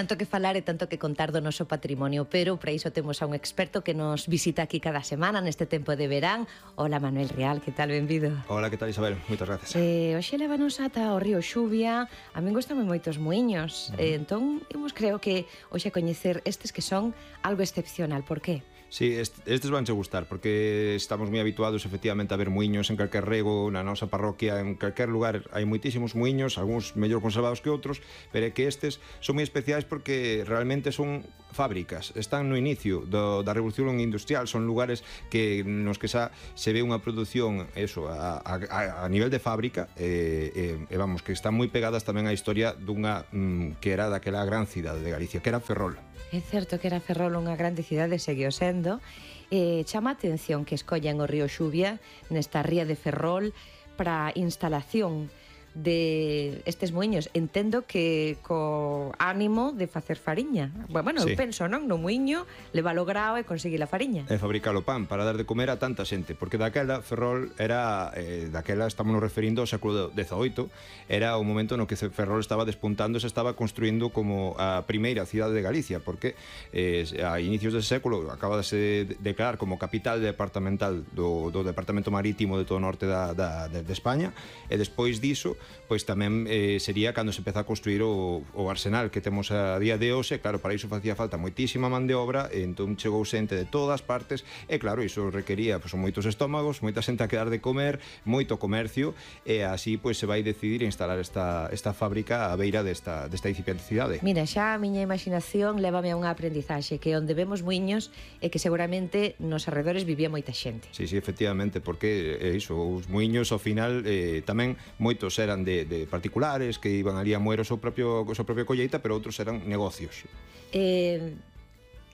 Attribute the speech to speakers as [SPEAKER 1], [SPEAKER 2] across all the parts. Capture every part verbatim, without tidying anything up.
[SPEAKER 1] tanto que falar e tanto que contar do noso patrimonio, pero para iso temos a un experto que nos visita aquí cada semana neste tempo de verán. Hola, Manuel Real, que tal? Benvido.
[SPEAKER 2] Hola, que tal, Isabel? Moitas gracias.
[SPEAKER 1] Eh, hoxe levanos ata o río Xuvia. A min gustan moitos muiños. Uh -huh. eh, entón, imos creo que hoxe a coñecer estes que son algo excepcional. Por qué?
[SPEAKER 2] Sí, estes vanche gustar, porque estamos moi habituados efectivamente a ver muiños en calquer rego, na nosa parroquia, en calquer lugar hai moitísimos muiños, algúns mellor conservados que outros, pero é que estes son moi especiais porque realmente son fábricas, están no inicio do, da revolución industrial, son lugares que nos que xa se ve unha produción eso, a, a, a nivel de fábrica e, e, e vamos, que están moi pegadas tamén á historia dunha mm, que era daquela gran cidade de Galicia, que era Ferrol.
[SPEAKER 1] É certo que era Ferrol unha grande cidade, seguiu sendo. Eh, chama a atención que escollan o río Xuvia nesta ría de Ferrol para a instalación de estes muiños. Entendo que co ánimo de facer fariña. Bueno, sí. Eu penso, non? No muiño leva o grao e conseguir a fariña.
[SPEAKER 2] E fabricar o pan para dar de comer a tanta xente, porque daquela Ferrol era, eh, daquela estamos nos referindo ao século dezaoito, era o momento no que Ferrol estaba despuntando, se estaba construindo como a primeira cidade de Galicia, porque eh, a inicios dese século acaba de se declarar como capital departamental do, do departamento marítimo de todo o norte da, da, de, de España, e despois diso pois tamén eh, sería cando se empeza a construir o, o arsenal que temos a día de hoxe. Claro, para iso facía falta moitísima man de obra, e entón chegou xente de todas partes, e claro, iso requería pois, moitos estómagos, moita xente a quedar de comer, moito comercio, e así pois se vai decidir instalar esta, esta fábrica á beira desta, desta incipiente cidade.
[SPEAKER 1] Mira, xa a miña imaginación lévame a unha aprendizaxe, que onde vemos muiños é que seguramente nos arredores vivía moita xente.
[SPEAKER 2] Sí, sí, efectivamente, porque é iso, os muiños ao final eh, tamén moitos eran de, de particulares que iban ali a moer o seu propio, o seu propio colleita, pero outros eran negocios.
[SPEAKER 1] Eh,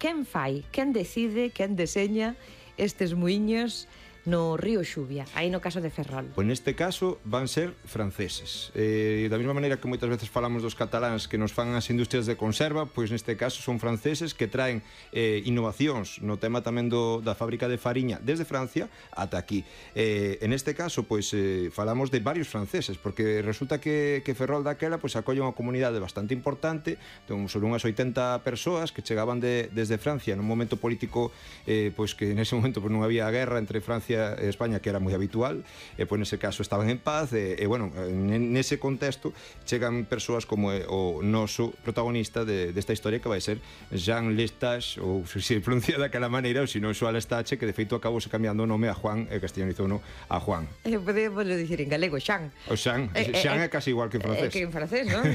[SPEAKER 1] quen fai, quen decide, quen deseña estes muiños no río Xuvia, aí no caso de Ferrol?
[SPEAKER 2] Pois neste caso van ser franceses. Eh, da mesma maneira que moitas veces falamos dos cataláns que nos fan as industrias de conserva, pois neste caso son franceses que traen eh, innovacións no tema tamén do, da fábrica de fariña desde Francia ata aquí. Eh, en este caso, pois eh, falamos de varios franceses, porque resulta que, que Ferrol daquela pois acolle unha comunidade bastante importante, entón, sobre unhas oitenta persoas que chegaban de, desde Francia nun momento político eh, pois que nese momento pois, non había guerra entre Francia e España, que era moi habitual, e pois nese caso estaban en paz, e, e bueno, nese contexto chegan persoas como o noso protagonista de, desta historia, que vai ser Jean Lestage, ou se se pronuncia daquela maneira, ou se non Joan Lestage, que de feito acabouse cambiando o nome a Juan e castellanizouno a Juan.
[SPEAKER 1] Eh, podemos dicir en galego, Xan.
[SPEAKER 2] O Xan, eh, Xan é casi igual que en francés.
[SPEAKER 1] É que en francés, non?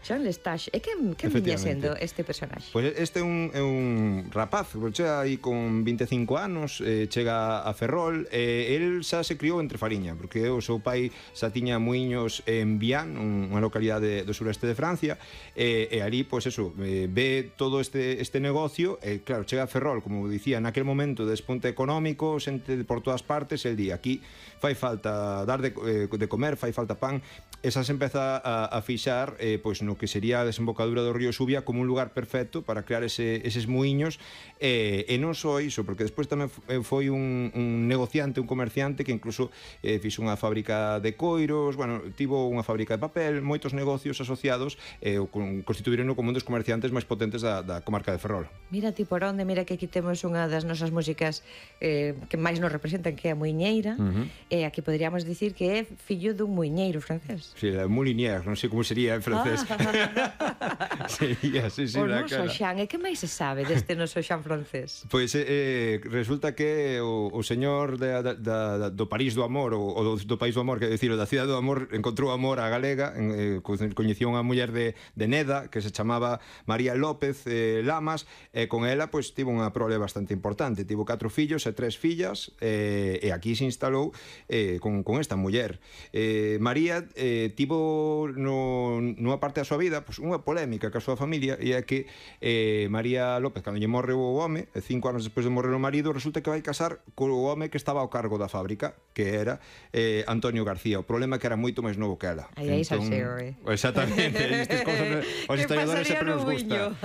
[SPEAKER 1] Jean Lestage. E quen, quen viña sendo este personaxe?
[SPEAKER 2] Pois este é un, é un rapaz, chega aí con vinte e cinco anos, eh, chega a Ferrol, e el xa se criou entre fariña, porque o seu pai xa tiña muiños en Vian, unha localidade do sureste de Francia, e, e ali, pois eso, eh, ve todo este, este negocio, e claro, chega a Ferrol, como dicía, naquel momento de despunte económico, xente por todas partes, el di, aquí fai falta dar de, eh, de comer, fai falta pan, e xa se empeza a, a fixar eh, pois no que sería a desembocadura do río Xuvia como un lugar perfecto para crear ese, eses muiños, e, e non só iso, porque despois tamén foi un, un negociante, un comerciante que incluso eh, fixo unha fábrica de coiros, bueno, tivo unha fábrica de papel, moitos negocios asociados, e eh, constituíron como un dos comerciantes máis potentes da, da comarca de Ferrol.
[SPEAKER 1] Mira ti por onde, mira que aquí temos unha das nosas músicas eh, que máis nos representan, que é a muiñeira, uh -huh. e aquí poderíamos dicir que é fillo dun muiñeiro francés.
[SPEAKER 2] Sí, la moulinière, non sei como sería en francés.
[SPEAKER 1] Ah.
[SPEAKER 2] Sería, sí, sí,
[SPEAKER 1] o noso Xan, e que máis se sabe deste noso Xan francés?
[SPEAKER 2] Pois eh, resulta que o, o señor de, da, da, do París do Amor, ou, ou do País do Amor, que decir, da cidade do Amor, encontrou amor a galega, en, eh, coñecía unha muller de, de Neda, que se chamaba María López eh, Lamas, e con ela, pois, tivo unha prole bastante importante, tivo catro fillos e tres fillas, eh, e aquí se instalou eh, con, con esta muller. Eh, María eh, tivo no, nunha parte da súa vida pois, unha polémica ca súa familia, e é que eh, María López, cando lle morre o home, cinco anos despois de morrer o marido, resulta que vai casar co home que estaba ao cargo da fábrica, que era eh, Antonio García. O problema é que era moito máis novo que ela.
[SPEAKER 1] Aí aí entón, salseo, eh?
[SPEAKER 2] Exactamente, estas cousas Os historiadores sempre nos gusta.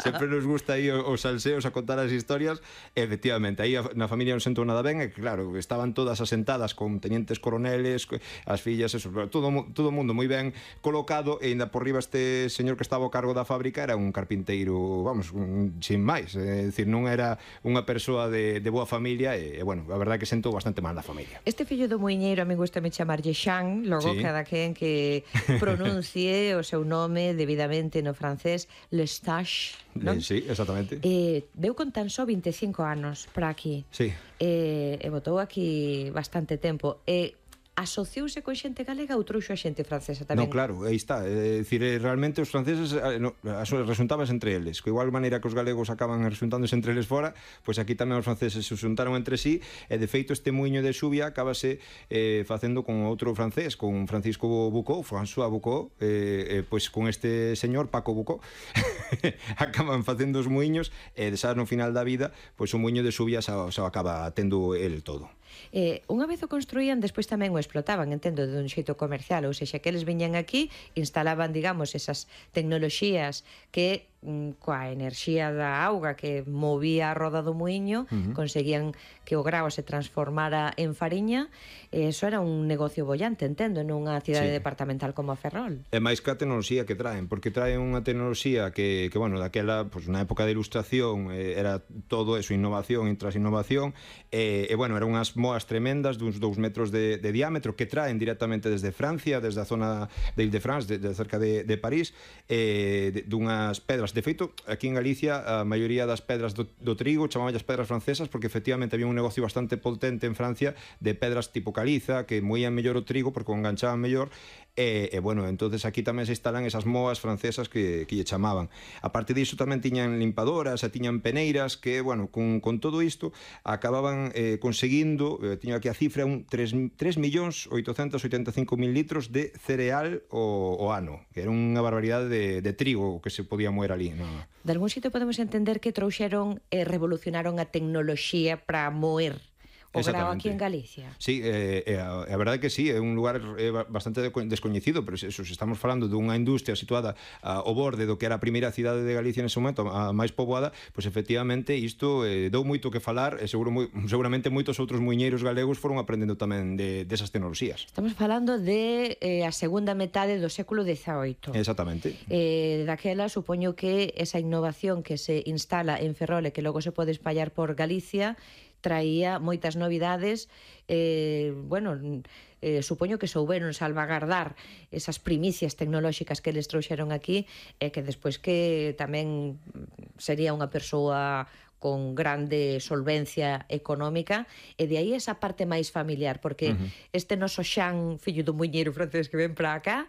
[SPEAKER 2] Sempre nos gusta aí os salseos a contar as historias. Efectivamente, aí na familia non sentou nada ben, e claro, estaban todas asentadas con tenientes coroneles, as fillas, eso, todo todo o mundo moi ben colocado, e ainda por riba este señor que estaba ao cargo da fábrica era un carpinteiro, vamos, un, sin máis, é dicir, non era unha persoa de, de boa familia, e, e bueno, a verdade que sentou bastante mal na familia.
[SPEAKER 1] Este fillo do muiñeiro, a mí gusta me chamarlle Xan, logo sí. Cada quen que pronuncie o seu nome debidamente no francés, Lestage, non?
[SPEAKER 2] Sí, exactamente.
[SPEAKER 1] Eh, veu con tan só vinte e cinco anos para aquí.
[SPEAKER 2] Sí.
[SPEAKER 1] Eh, e botou aquí bastante tempo. E eh, asociouse con xente galega ou trouxo a xente francesa tamén?
[SPEAKER 2] Non, claro, aí está. É dicir, realmente os franceses no, resuntábanse entre eles, que igual maneira que os galegos acaban resuntándose entre eles fora, pois aquí tamén os franceses se xuntaron entre sí, e de feito este muiño de Xuvia acabase eh, facendo con outro francés, con Francisco Bucó, François Bucó, eh, eh, pois con este señor Paco Bucó, acaban facendo os muiños, e xa no final da vida, pois o muiño de Xuvia xa, xa acaba tendo el todo.
[SPEAKER 1] Eh, unha vez o construían, despois tamén o explotaban, entendo, de un xeito comercial, ou seja, que eles viñan aquí, instalaban, digamos, esas tecnoloxías que coa enerxía da auga que movía a roda do muiño, uh -huh. conseguían que o grao se transformara en fariña, e eso era un negocio bollante, entendo, nunha cidade sí. departamental como a Ferrol.
[SPEAKER 2] E máis que a tecnoloxía que traen, porque traen unha tecnoloxía que, que bueno, daquela, pues, na época de ilustración, eh, era todo eso, innovación tras innovación, e, e bueno, eran unhas moas tremendas duns dous metros de, de diámetro que traen directamente desde Francia, desde a zona de Ile-de-France, de, de cerca de, de París, eh, de, dunhas pedras. De feito, aquí en Galicia a maioría das pedras do, do trigo chamaban as pedras francesas, porque efectivamente había un negocio bastante potente en Francia de pedras tipo caliza que moían mellor o trigo porque o enganchaban mellor. E, e bueno, entonces aquí tamén se instalan esas moas francesas que, que lle chamaban. A parte disso tamén tiñan limpadoras e tiñan peneiras que, bueno, con, con todo isto acababan eh, conseguindo, eh, tiño aquí a cifra, un tres millóns oitocentos oitenta e cinco mil litros de cereal o, o ano, que era unha barbaridade de, de trigo que se podía moer ali, no?
[SPEAKER 1] De algún sitio podemos entender que trouxeron e eh, revolucionaron a tecnoloxía para moer o grao aquí en Galicia.
[SPEAKER 2] Sí, eh, eh, a, a verdade que sí, é un lugar eh, bastante descoñecido, pero eso, se estamos falando dunha industria situada a, ao borde do que era a primeira cidade de Galicia nese momento, a máis poboada, pois efectivamente isto eh, dou moito que falar, e seguro, moi, seguramente moitos outros muiñeiros galegos foron aprendendo tamén de, desas tecnoloxías.
[SPEAKER 1] Estamos falando de eh, a segunda metade do século dezaoito.
[SPEAKER 2] Exactamente.
[SPEAKER 1] Eh, daquela, supoño que esa innovación que se instala en Ferrol e que logo se pode espallar por Galicia traía moitas novidades, eh, bueno, eh, supoño que souberon salvagardar esas primicias tecnolóxicas que eles trouxeron aquí, e que despois que tamén sería unha persoa con grande solvencia económica, e de aí esa parte máis familiar, porque uh -huh. este noso Xan, fillo dun muiñeiro francés que ven para acá,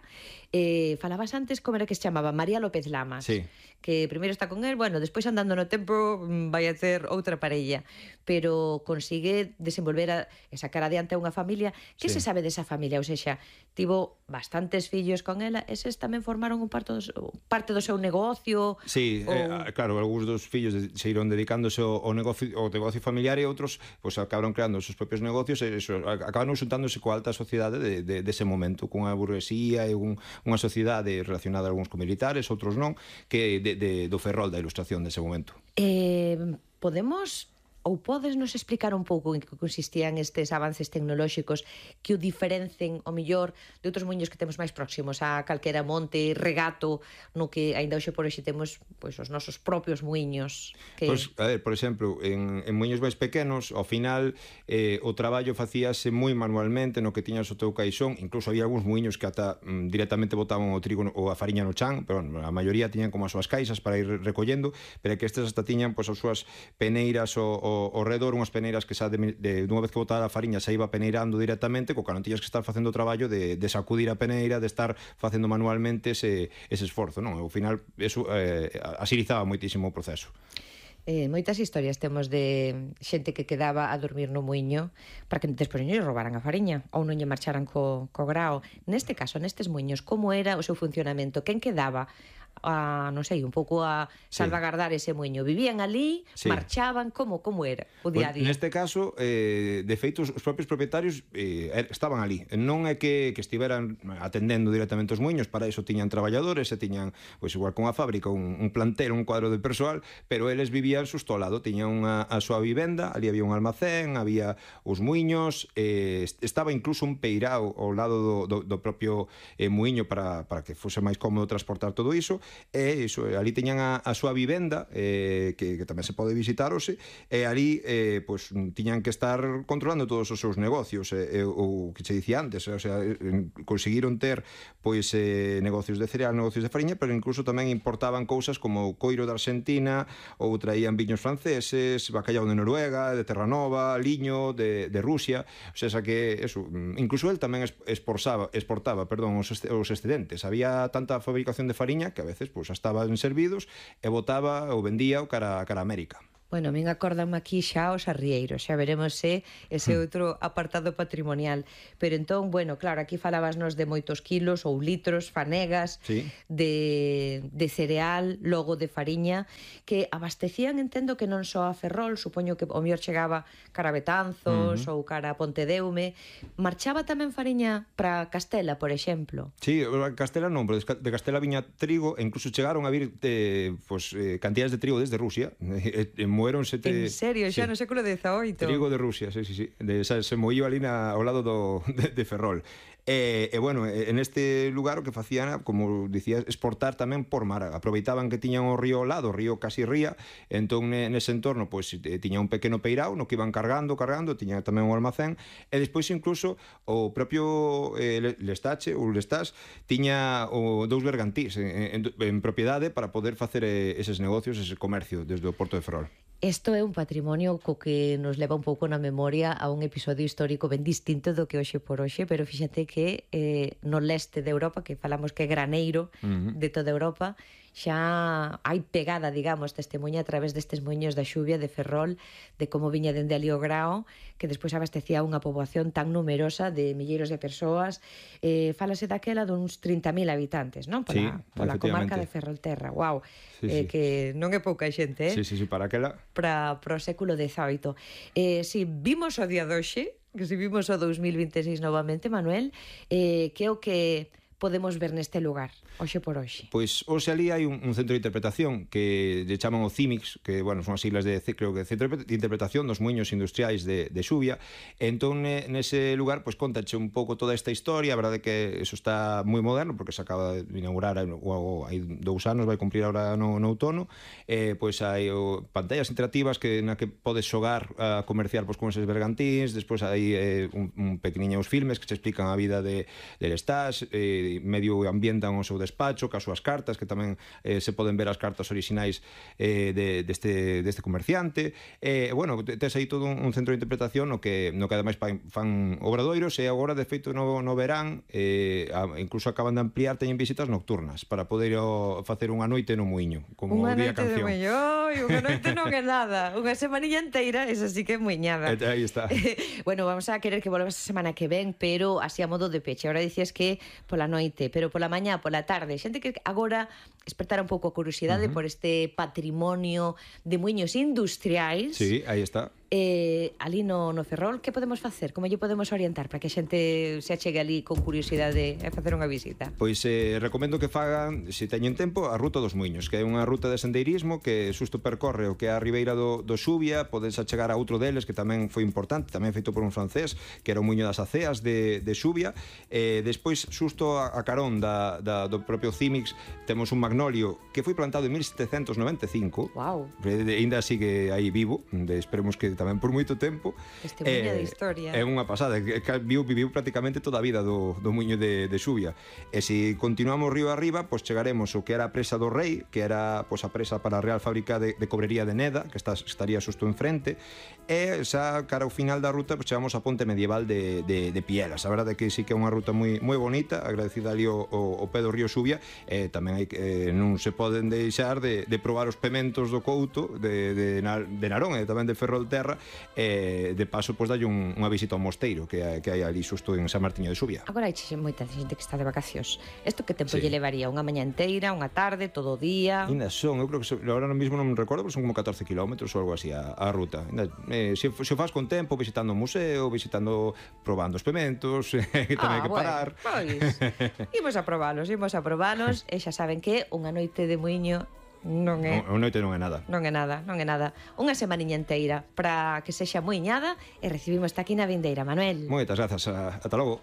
[SPEAKER 1] eh, falabas antes como era que se chamaba, María López Lamas,
[SPEAKER 2] sí.
[SPEAKER 1] que primeiro está con él, bueno, despois andando no tempo vai a ter outra parella, pero consigue desenvolver a, e sacar adiante a unha familia. Que sí. se sabe desa familia? Ou seja, tivo bastantes fillos con ela, eses tamén formaron un parte do, parte do seu negocio?
[SPEAKER 2] Sí, ou... eh, claro, algúns dos fillos se iron dedicándose ao, ao, negocio, ao negocio familiar, e outros pues, acabaron creando os seus propios negocios, e eso, acabaron xuntándose coa alta sociedade de, de, dese momento, cunha burguesía e un, unha sociedade relacionada algúns con militares, outros non, que de, de, do Ferrol da ilustración dese momento.
[SPEAKER 1] Eh, podemos... ou podes nos explicar un pouco en que consistían estes avances tecnolóxicos que o diferencen, o millor, de outros muiños que temos máis próximos a calquera monte, regato, no que aínda hoxe por hoxe temos pois, os nosos propios muiños? Que...
[SPEAKER 2] Pois, a ver, por exemplo, en, en muiños máis pequenos, ao final, eh, o traballo facíase moi manualmente, no que tiñas o teu caixón, incluso había algúns muiños que ata mm, directamente botaban o trigo ou a fariña no chan, pero bueno, a maioría tiñan como as súas caixas para ir recollendo, pero que estes hasta tiñan pois, as súas peneiras o, o ao redor, unhas peneiras que xa de, de, de unha vez que botara a fariña xa iba peneirando directamente, co que non tiñas que estar facendo o traballo de, de sacudir a peneira, de estar facendo manualmente ese, ese esforzo, non? Ao final, eso eh, asilizaba moitísimo o proceso.
[SPEAKER 1] Eh, moitas historias temos de xente que quedaba a dormir no muiño para que despois non lle robaran a fariña ou non lle marcharan co, co grao. Neste caso, nestes muiños, como era o seu funcionamento? Quen quedaba a non sei, un pouco a salvagardar sí. ese muiño. Vivían ali, sí. marchaban, como como era o día a día?
[SPEAKER 2] Pues, neste caso, eh, de feito, os propios propietarios eh, estaban ali. Non é que, que estiveran atendendo directamente os muiños, para iso tiñan traballadores, e tiñan, pois igual con a fábrica, un, un plantel, un cuadro de persoal, pero eles vivían xusto ao lado, tiñan unha, a súa vivenda, ali había un almacén, había os muiños, eh, estaba incluso un peirao ao lado do, do, do propio eh, muiño para, para que fose máis cómodo transportar todo iso, e iso, ali teñan a, a súa vivenda, eh, que, que tamén se pode visitarose, e ali eh, pues, tiñan que estar controlando todos os seus negocios, e, eh, o que che dicía antes, o sea, conseguiron ter pois eh, negocios de cereal, negocios de fariña, pero incluso tamén importaban cousas como coiro de Argentina, ou traían viños franceses, bacallao de Noruega, de Terranova, liño de, de Rusia, o sea, que eso, incluso el tamén exportaba, exportaba, perdón, os, os excedentes. Había tanta fabricación de fariña que a veces pues, estaban servidos e botaba ou vendía o cara, cara a América.
[SPEAKER 1] Bueno, min acórdame aquí xa os arrieiros, xa veremos se ese outro apartado patrimonial. Pero entón, bueno, claro, aquí falabasnos de moitos kilos ou litros, fanegas, sí. de, de cereal, logo de fariña, que abastecían, entendo que non só a Ferrol, supoño que o mellor chegaba cara a Betanzos uh -huh. ou cara a Pontedeume. Marchaba tamén fariña para Castela, por exemplo?
[SPEAKER 2] Sí, Castela non, pero de Castela viña trigo, e incluso chegaron a vir eh, pues, eh, cantidades de trigo desde Rusia, en moeronse te...
[SPEAKER 1] En serio, xa sí. no século dezaoito.
[SPEAKER 2] Trigo de Rusia, sí, sí, sí. De, se, se moíu ali na, ao lado do, de, de Ferrol. E, e bueno, en este lugar o que facían, como dicías, exportar tamén por mar. Aproveitaban que tiñan o río ao lado, o río casi ría, entón nese entorno pois tiña un pequeno peirao no que iban cargando, cargando, tiña tamén un almacén, e despois incluso o propio eh, Lestache, ou Lestás, tiña o, dous bergantís en, en, en propiedade para poder facer eh, eses negocios, ese comercio desde o Porto de Ferrol.
[SPEAKER 1] Isto é un patrimonio co que nos leva un pouco na memoria a un episodio histórico ben distinto do que hoxe por hoxe, pero fíxate que eh, no leste de Europa, que falamos que é graneiro uh -huh. de toda Europa, xa hai pegada, digamos, testemunha a través destes muiños da xuvia de Ferrol, de como viña dende ali o Grao, que despois abastecía unha poboación tan numerosa de milleiros de persoas. Eh, falase daquela duns trinta mil habitantes, non? Pola, sí, pola comarca de Ferrolterra. Wow, sí, eh, sí. Que non é pouca xente, eh?
[SPEAKER 2] Sí, sí, sí, para aquela...
[SPEAKER 1] Para, para o século dezaoito. Eh, si vimos o día doxe, que si vimos o dous mil vinte e seis novamente, Manuel, eh, que é o que podemos ver neste lugar, hoxe por hoxe?
[SPEAKER 2] Pois hoxe ali hai un, un centro de interpretación que lle chaman o CIMIX, que, bueno, son as siglas de, creo que, Centro de Interpretación dos Muiños Industriais de, de Xuvia. Entón, nese lugar, pois, contache un pouco toda esta historia. A verdade que eso está moi moderno, porque se acaba de inaugurar o, hai dous anos, vai cumprir agora no, no outono. Eh, pois hai o, pantallas interactivas que na que podes xogar a comerciar pois, con eses bergantíns. Despois hai eh, un, un pequeniños filmes que se explican a vida de, de Lestats, eh, medio ambientan o seu despacho, cas súas cartas, que tamén eh, se poden ver as cartas orixinais eh, de, deste, deste comerciante. E, eh, bueno, tes aí todo un, un centro de interpretación no que, no que ademais fan obradoiros, e agora, de feito, no, no verán, eh, incluso acaban de ampliar, teñen visitas nocturnas, para poder o, facer unha noite no muiño, como
[SPEAKER 1] unha
[SPEAKER 2] día
[SPEAKER 1] canción.
[SPEAKER 2] Unha
[SPEAKER 1] noite de muiño, unha noite non é nada, unha semanilla inteira, esa sí que é muiñada.
[SPEAKER 2] E, aí está.
[SPEAKER 1] Bueno, vamos a querer que volvas a semana que ven, pero así a modo de peche. Ahora dicías que pola noite noite, pero pola mañá, pola tarde, xente que agora despertara un pouco a curiosidade uh -huh. por este patrimonio de muiños industriais.
[SPEAKER 2] Sí, aí está.
[SPEAKER 1] Eh, ali no, no Ferrol, que podemos facer? Como lle podemos orientar para que a xente se achegue ali con curiosidade a facer unha visita?
[SPEAKER 2] Pois eh, recomendo que fagan, se teñen tempo, a Ruta dos Muiños, que é unha ruta de sendeirismo que xusto percorre o que é a ribeira do, do Xuvia. Podes achegar a outro deles que tamén foi importante, tamén feito por un francés, que era o Muiño das Aceas de, de Xuvia. Eh, despois, xusto a, a carón da, da, do propio CIMIX, temos un magnolio que foi plantado en mil setecentos noventa e cinco.
[SPEAKER 1] Wow.
[SPEAKER 2] Ainda sigue aí vivo, de, esperemos que tamén por moito tempo.
[SPEAKER 1] Testemunha eh, de historia.
[SPEAKER 2] É unha pasada, que viu, viviu prácticamente toda a vida do, do muiño de, de Xuvia. E se continuamos río arriba, pois chegaremos ao que era a presa do Rei, que era pois, a presa para a Real Fábrica de, de Cobrería de Neda, que está, estaría xusto enfrente, e xa cara ao final da ruta pois, chegamos á ponte medieval de, de, de Pielas. A verdade é que sí que é unha ruta moi, moi bonita, agradecida ali o, o, o pé do río Xuvia, e tamén hai, eh, non se poden deixar de, de probar os pementos do Couto de, de, de Narón e tamén de Ferrolterra, terra, e de paso, pois, dalle un, unha visita ao mosteiro que hai, que hai ali xusto en San Martiño de Xubia.
[SPEAKER 1] Agora hai moita xente que está de vacacións. Isto que tempo
[SPEAKER 2] Sí.
[SPEAKER 1] lle levaría? Unha mañá inteira, unha tarde, todo o día?
[SPEAKER 2] Ainda son, eu creo que, agora mismo non me recordo, pero son como catorce kilómetros ou algo así a, a ruta. Ainda, eh, se, se o faz con tempo, visitando o museo, visitando, probando os pementos, que tamén hai que parar.
[SPEAKER 1] Bueno, pois, imos a probalos, imos a probalos, e xa saben que unha noite de muiño non é...
[SPEAKER 2] O, o noite non é nada.
[SPEAKER 1] Non é nada, non é nada. Unha semaniña inteira para que sexa muiñada e recibimos aquí na vindeira, Manuel.
[SPEAKER 2] Moitas grazas, a, ata logo.